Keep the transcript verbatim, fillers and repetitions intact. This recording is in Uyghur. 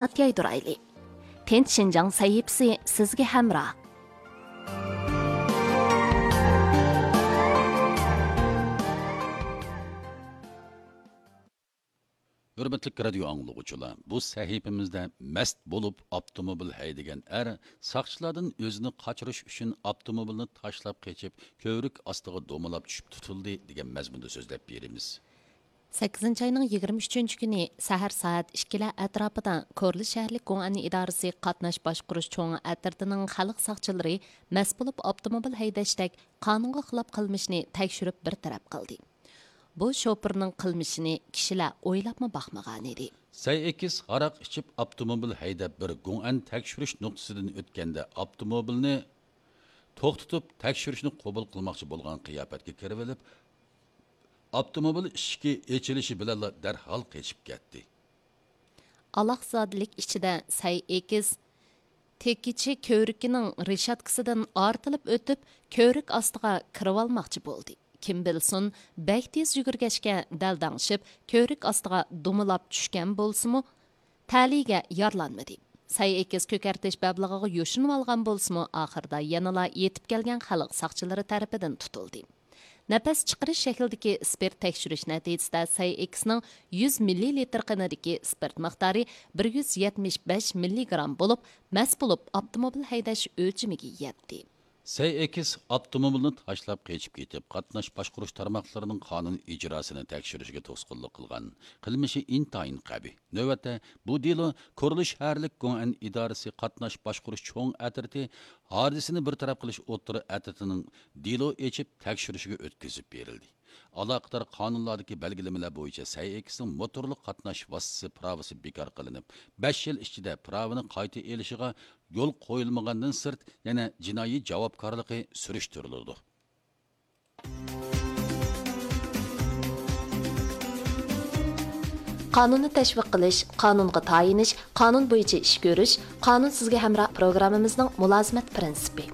يايدۇرايلى. تىنچ شىنجاڭ سەھىپىسى سىزگە ھەمراھ. ھۆرمەتلىك رادىيو ئاڭلىغۇچىلار، بۇ سەھىپىمىزدە مەست بولۇپ ئاپتوموبىل ھەيدىگەن ئەر ساقچىلاردىن ئۆزىنى قاچۇرۇش ئۈچۈن ئاپتوموبىلنى تاشلاپ قېچىپ، كۆۋرۈك ئاستىغا دومىلاپ چۈشۈپ تۇتۇلدى، دېگەن مەزمۇندا سۆزلەپ بېرىمىز. سەككىزىنچى ئاينىڭ يىگىرمە ئۈچىنچى كۈنى سەھەر سائەت ئىككىلەر ئەتراپىدا كورلا شەھەرلىك گوڭئەن ئىدارىسى قاتناش باشقۇرۇش چوڭ ئەترىتىنىڭ خەلق ساقچىلىرى مەست بولۇپ ئاپتوموبىل ھەيدەشتەك قانۇنغا خىلاپ قىلمىشنى تەكشۈرۈپ بىر تەرەپ قىلدى. بۇ شوپۇرنىڭ قىلمىشىنى كىشىلەر ئويلاپمۇ باقمىغانىدى. سەي ئېكىس ھاراق ئىچىپ ئاپتوموبىل ھەيدەپ بىر گوڭئەن تەكشۈرۈش نۇقتىسىدىن ئۆتكەندە ئاپتوموبىلنى توختىتىپ تەكشۈرۈشنى قوبۇل قىلماقچى بولغان قىياپەتكە كىرىۋېلىپ، ئاپتوموبىل ئىشىكى ئېچىلىشى بىلەنلا دەرھال قېچىپ كەتتى. ئالاقزادىلىك ئىچىدە سەي ئېكىس تېكىچى كۆۋرۈكىنىڭ رېشاتكىسىدىن ئارتىلىپ ئۆتۈپ، كۆۋرۈك ئاستىغا كىرىۋالماقچى بولدى. كىم بىلسۇن، بەك تېز يۈگۈرگەچكە دەلدەڭشىپ، كۆۋرۈك ئاستىغا دومىلاپ چۈشكەن بولسىمۇ، تەلىيىگە يارىلانمىدى. سەي ئېكىس كۆكەرتىش بەبلىقىغا يوشۇنۇۋالغان بولسىمۇ، ئاخىرىدا يەنىلا يېتىپ كەلگەن خەلق ساقچىلىرى تەرىپىدىن تۇتۇلدى. نەپەس چىقىرىش شەكلىدىكى ئىسپىرت تەكشۈرۈش نەتىجىسىدە سەي ئېكىسنىڭ يۈز مىللىلىتىر قېنىدىكى ئىسپىرت مىقدارى بىر يۈز يەتمىش بەش مىللىگرام بولۇپ، مەست بولۇپ ئاپتوموبىل ھەيدەش ئۆلچىمىگە يەتتى. سەي ئېكىس ئاپتوموبىلنى تاشلاپ قېچىپ كېتىپ، قاتناش باشقۇرۇش تارماقلىرىنىڭ قانۇن ئىجراسىنى تەكشۈرۈشىگە توسقۇنلۇق قىلغان. قىلمىشى ئىنتايىن قەبىھ. نۆۋەتتە بۇ دېلو كورلا شەھەرلىك گوڭئەن ئىدارىسى قاتناش باشقۇرۇش چوڭ ئەترىتى ھادىسىنى بىر تەرەپ قىلىش ئوتتۇرا ئەترىتىنىڭ دېلو ئېچىپ تەكشۈرۈشىگە ئۆتكۈزۈپ بېرىلدى. ئالاقىدار قانۇنلاردىكى بەلگىلىمىلەر بويىچە سەي ئېكىسنىڭ موتورلۇق قاتناش ۋاسىتىسى پىراۋىسى بىكار قىلىنىپ، بەش يىل ئىچىدە پىراۋىنى قايتا ئېلىشىغا يول قويۇلمىغاندىن سىرت، يەنە جىنايى جاۋابكارلىقى سۈرۈشتۈرۈلىدۇ. قانۇننى تەشۋىق قىلىش، قانۇنغا تايىنىش، قانۇن بويىچە ئىش كۆرۈش، قانۇن سىزگە ھەمراھ پروگراممىمىزنىڭ مۇلازىمەت پىرىنسىپى.